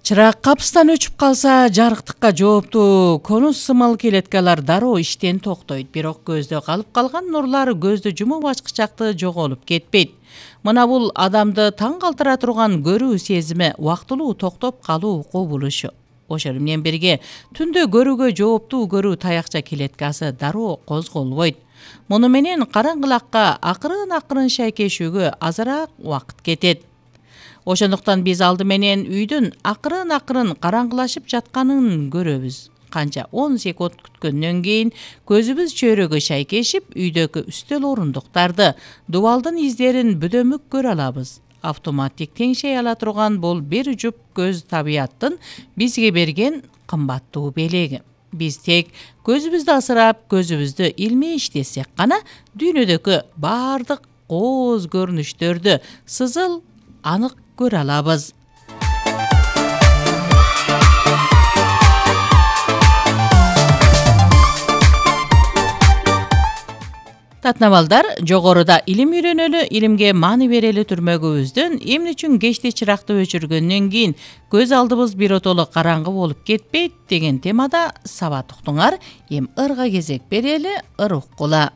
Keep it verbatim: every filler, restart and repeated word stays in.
Чырак капыстан өчүп калса, жарыктыкка жооптуу конус сымал келеткалар дароо иштен токтойт. Бирок көздө калып калган нурлар көздү жумуп ачкычакты жоголуп кетпейт. Мына бул адамды таң калтыра турган көрүү сезими убактылуу токтоп калуу кубулушу. Ошол менен бирге түндө көрүүгө жооптуу көрүү таякча келеткасы дароо козголбойт. Муну менен караңгылакка акырын-акырын шайкешүүгө азыраак убакыт кетет. Ошондуктан биз алды менен үйдүн акырын-акырын караңгылашып жатканын көрөбүз. Канча он секунд күткөндөн кийин көзүбүз чөйрөгө шайкешип, үйдөгү үстөл орундуктарды, дубалдын издерин бүдөмүк көрө алабыз. Автоматтик теңшей ала турган бул бир жуп көз табияттын бизге берген кымбаттуу белеги. Биз тек көзүбүздү асырап, көзүбүздү илмей иштесек гана дүйнөдөгү баардык кооз көрүнүштөрдү сызыл анык көрө алабыз. Татнабалдар, жогоруда илим үйрөнөлү, илимге маани берели түрмөгүбүздөн эмне үчүн кечти чыракты өчүргөндөн кийин көз алдыбыз биротоло караңгы болуп кетпейт деген темада сабат уктуңар. Эми ырга кезек берели, ыр уккула.